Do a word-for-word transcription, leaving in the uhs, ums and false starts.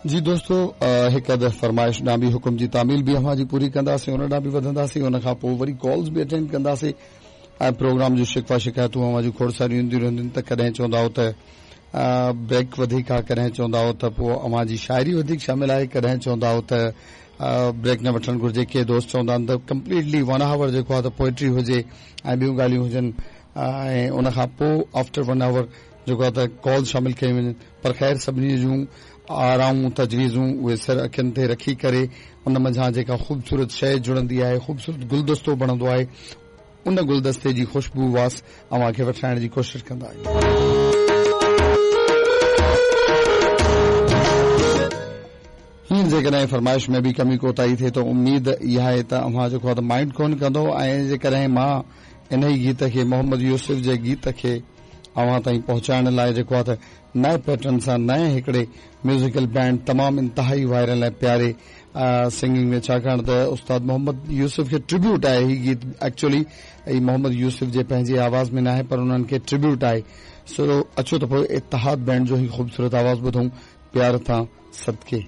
जी दोस्तो, हिकु अदद फरमाइश ॾांहुं बि हुकुम जी तामील बि अव्हां जी पूरी कंदासीं, उन ॾांहुं बि वधंदासीं, उन खां पोइ वरी कॉल्स बि अटेंड कंदासीं ऐं प्रोग्राम जूं शिकवा शिकायतूं अव्हां जूं खोड़ सारियूं ईंदियूं रहंदियूं। त कॾहिं चवंदा हो त ब्रेक वधीक आहे, कॾहिं चवंदा हो त पोइ अव्हां जी शाइरी वधीक शामिल आहे, कॾहिं चवंदा हो त ब्रेक न वठणु घुरिजे। के दोस्त चवंदा आहिनि त कंप्लीटली वन आवर जेको आहे त पोइट्री हुजे ऐं ॿियूं ॻाल्हियूं हुजनि ऐं उन खां पोइ आफ्टर वन आवर जेको आहे त कॉल शामिल कई वञनि। पर ख़ैर सभिनी जूं आराऊं तजवीज़ूं उहे सिर अखियुनि ते रखी करे उन मंझां जेका ख़ूबसूरत शइ जुड़ंदी आहे, ख़ूबसूरत गुलदस्तो बणंदो आहे, उन गुलदस्ते जी ख़ुशबू वास अव्हां खे वठाइण जी कोशिशि कंदा आहियूं। हींअर जेकॾहिं फरमाइश में बि कमी कोताही थिए त उमेद इहा आहे त अव्हां जेको आहे त माइंड कोन कंदो। ऐं जेकॾहिं मां इन ई गीत खे, मोहम्मद यूसुफ जे गीत खे अव्हां ताईं पहुचाइण लाइ जेको आहे त नए पैटर्न सां नए हिकिड़े म्यूज़िकल बैंड तमामु इंतिहाई वायरल ऐं प्यारे सिंगिंग में, छाकाणि त उस्ताद मोहम्मद यूसुफ खे ट्रिब्यूट आहे ही गीत। एक्चुअली ही मोहम्मद यूसुफ जे पंहिंजे आवाज़ में न आहे, पर उन्हनि खे ट्रिब्यूट आहे। सो अचो त पोइ इत्तिहाद बैंड जो ही ख़ूबसूरत आवाज़ ॿुधूं, प्यार थां सदके।